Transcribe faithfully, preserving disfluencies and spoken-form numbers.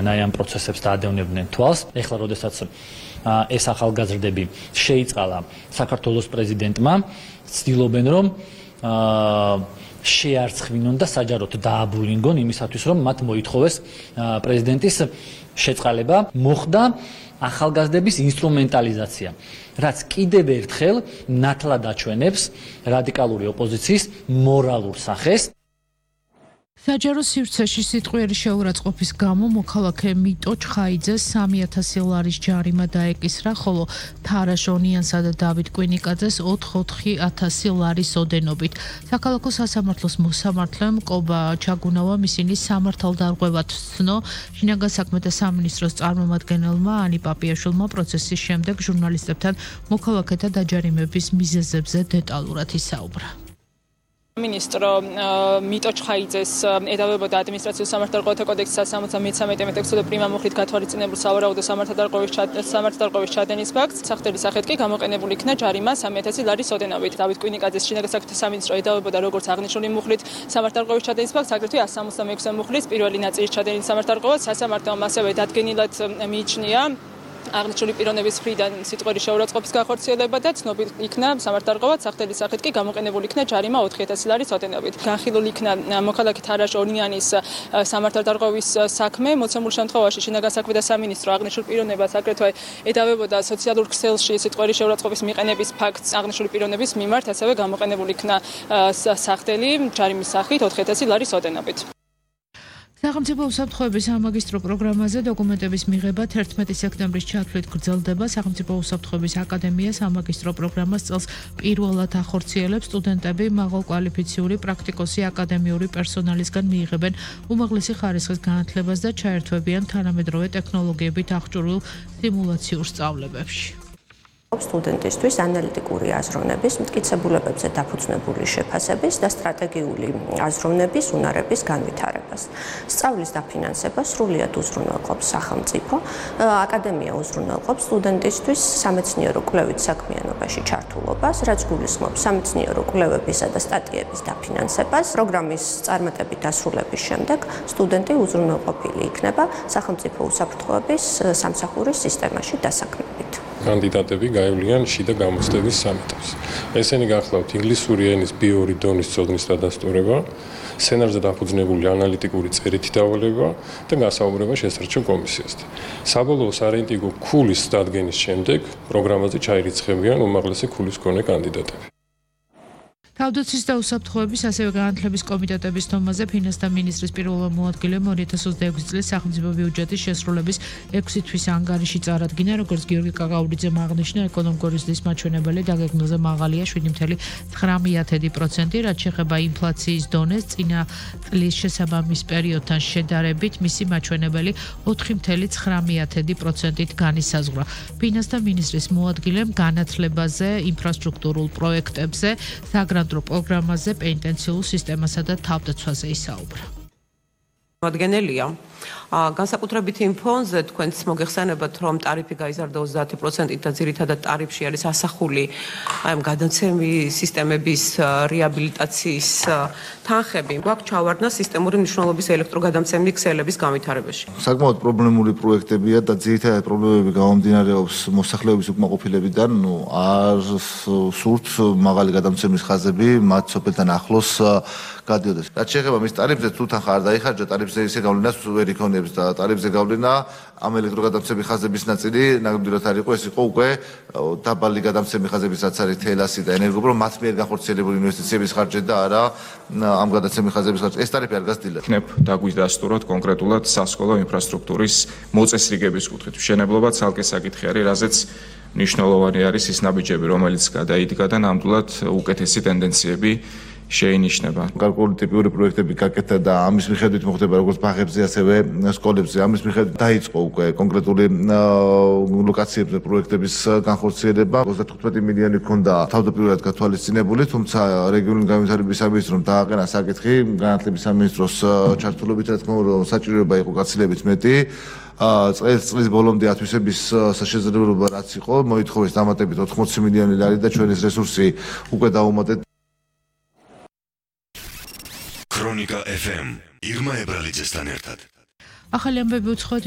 ნაიან პროცესებს დაადევნებდნენ თვალს. ეხლა როდესაც ეს ახალგაზრდები შეიწყალა საქართველოს პრეზიდენტმა, ცდილობენ რომ შეარცხვნონ და საჯაროდ დააბულინგონ იმისათვის, რომ მათ მოითხოვეს პრეზიდენტის შეწყალება. მოხდა ახალგაზრდების ინსტრუმენტალიზაცია, რაც კიდევ ერთხელ ნათლად აჩვენებს რადიკალური ოპოზიციის მორალურ სახეს. საჯარო სივრცეში სიტყვიერი შეურაცხყოფის გამო მოქალაქე მიტო ჩხაიძეს სამი ათასი ლარის ჯარიმა დაეკისრა, ხოლო თარაშ ონიანსა და დავით კვინიკაძეს ოთხ-ოთხი ათასი ლარის ოდენობით. საქალაქო სასამართლოს მოსამართლემ კობა ჩაგუნავა ისინი სამართალდარღვევად ცნო. შინაგან საქმეთა სამინისტროს წარმომადგენელმა ანი პაპიაშვილმა პროცესის შემდეგ ჟურნალისტებთან მოქალაქეთა დაჯარიმების მიზეზებზე დეტალურად ისაუბრა. მინისტრო მიტო ჩხაიძეს ედავებოდა ადმინისტრაციულ სამართალდარღვევათა კოდექსის სამოცდა მესამე ტექსტზე პრიმა მუხლით გათვალისწინებულ სავარაუდო სამართალდარღვევის სამართალდარღვევის ჩადენის ფაქტს სახდელი სახით კი გამოყენებული იქნა ჯარიმა სამი ათასი ლარის ოდენობით. დავით კვინიკაძეს შინაგან საქმეთა სამინისტრო ედავებოდა როგორც აღნიშნული მუხლით სამართალდარღვევის ჩადენის ფაქტს, აგრეთვე εκατს სამოცდა მეექვსე მუხლის პირველი ნაწილის ჩადენის სამართალდარღვევას. სასამართლომ ასევე დადგენილად მიიჩნია აღნიშნული პიროვნების მხრიდან სიტყვიერი შეურაცხყოფის განხორციელება და ცნობილ იქნა სამართალდარღვევად, სახდელი სახით კი გამოყენებული იქნა ჯარიმა ოთხი ათასი ლარის ოდენობით. განხილული იქნა მოქალაქე თარაშ ონიანის სამართალდარღვევის საქმე. მოცემულ შემთხვევაში შინაგან საქმეთა სამინისტრო აღნიშნულ პიროვნებას აგრეთვე ედავებოდა სოციალურ ქსელში სიტყვიერი შეურაცხყოფის მიყენების ფაქტს აღნიშნული პიროვნების მიმართ, ასევე გამოყენებული იქნა სახდელი ჯარიმის სახით ოთხი ათასი ლარის ოდენობით. სახელმწიფო უსაფრთხოების სამაგისტრო პროგრამაზე დოკუმენტების მიღება თერთმეტი სექტემბრის ჩათვლით გრძელდება. სახელმწიფო უსაფრთხოების აკადემია სამაგისტრო პროგრამას წელს პირველად ახორციელებს. სტუდენტები მაღალკვალიფიციური პრაქტიკოსი აკადემიური პერსონალისგან მიიღებენ უმაღლესი ხარისხის განათლებას და ჩაერთვებიან თანამედროვე ტექნოლოგიებით აღჭურვილ სიმულაციურ სწავლებებში. სტუდენტისთვის ანალიტიკური აზროვნების, მტკიცებულებებზე დაფუძნებული შეფასების და სტრატეგიული აზროვნების უნარების განვითარებას. სწავლის დაფინანსება სრულიად უზრუნველყოფს სახელმწიფო. აკადემია უზრუნველყოფს სტუდენტისთვის სამეცნიერო კვლევით საქმიანობაში ჩართულობას, რაც გულისხმობს სამეცნიერო კვლევებისა და სტატიების დაფინანსებას. პროგრამის წარმატებით დასრულების შემდეგ სტუდენტი უზრუნველყოფილი იქნება სახელმწიფო უსაფრთხოების სამსახურის სისტემაში დასაქმებით. კანდიდატები გაივლიან შიდა გამოცდების სამეთავს. ესენი გახლავთ ინგლისური ენის ბი ორი დონის ცოდნის დადასტურება, სცენარზე დაფუძნებული ანალიტიკური წერითი დავალება და გასაუბრება შესარჩევ კომისიასთან. საბოლოო სარეიტინგო ქულის დადგენის შემდეგ პროგრამაზე ჩაირიცხებიან უმაღლესი ქულის მქონე კანდიდატები. თავდაცვის და უსაფრთხოების ასევე განათლების კომიტეტების თომაზე ფინანსთა მინისტრის პირველმა მოადგილემ ორი ათას ოცდაექვსი წლის სახელმწიფო ბიუჯეტის შესრულების ექვსი თვის ანგარიში წარადგინა, როგორც გიორგი კაკაურიძემ აღნიშნა, ეკონომიკური ზრდის მაჩვენებელი დაგეგმილზე მაღალია შვიდი ფاصლე ცხრამეტი პროცენტი, რაც შეეხება ინფლაციის დონეს, წინა წლის შესაბამის პერიოდთან შედარებით მისი მაჩვენებელი ოთხი ფاصლე ცხრამეტი პროცენტით განისაზღვრა. ფინანსთა მინისტრის მოადგილემ განათლებაზე, ინფრასტრუქტურულ პროექტებზე, საგრანტო პროგრამაზე, პენიტენციურ სისტემასა და თავდაცვაზე ისაუბრა. მოადგენელია განსაკუთრებით იმ ფონზე თქვენც მოგეხსენებათ, რომ ტარიფი გაიზარდა ოცდაათი პროცენტით და ძირითადად ტარიფში არის ასახული აი გადაცემი სისტემების რეაბილიტაციის თანხები. გვაქვს ჩავარდნა სისტემური მნიშვნელობის ელექტროგადამცემი ქსელების განვითარებაში. საკმაოდ პრობლემური პროექტებია და ძირითადად პრობლემები გამომდინარეობს მოსახლეობის უკმაყოფილებიდან, ნუ არ სურთ მაღალი გადამცემის ხაზები მათ სოფელთან ახლოს გადიოდეს. რაც შეეხება მის ტარიფზე, თუ თანხა არ დაიხარჯა, ტარიფზე ისე გავლენას ვერ იქონიებს და ტარიფზე გავლენა ამ ელექტროგადამცემი ხაზების ნაწილი ნამდვილად არ იყო, ეს იყო უკვე დაბალი გადამცემი ხაზების, რაც არის თელასი და ენერგოპრო, მათ მიერ განხორციელებული ინვესტიციების ხარჯი და არა ამ გადაცემი ხაზების ხარჯი. ეს ტარიფი არ გასდილა. იქნებ დაგვიდასტუროთ კონკრეტულად სასკოლო ინფრასტრუქტურის მოწესრიგების კუთხით. მშენებლობა ცალკე საკითხი არის, რაზეც მნიშვნელოვანი არის ის ნაბიჯები, რომელიც გადაიდგა და ნამდვილად უკეთესი ტენდენციები შეინიშნება. გარკვეული ტიპიური პროექტები გაკეთა და ამის მიხედვით მოხდება როგორც ბაღებზე, ასევე სკოლებზე. ამის მიხედვით დაიწყო უკვე კონკრეტული ლოკაციებზე პროექტების განხორციელება. ოცდათხუთმეტი მილიონი ჰქონდა თავდაპირველად გათვალისწინებული, თუმცა რეგიონული განვითარების სამინისტრომ დააყენა საკითხი განათლების სამინისტროს ჩართულობით, რა თქმა უნდა, საჭიროება იყო გაცილებით მეტი. წელს წლის ბოლომდე ათვისების შესაძლებლობა რაც იყო, მოითხოვეს დამატებით ოთხმოცი მილიონი ლარი და ჩვენის რესურსი უკვე დაუმატეთ. ქრონიკა ეფ ემ ირმა ებრალიძესთან ერთად. ახალი ამბები უცხოეთი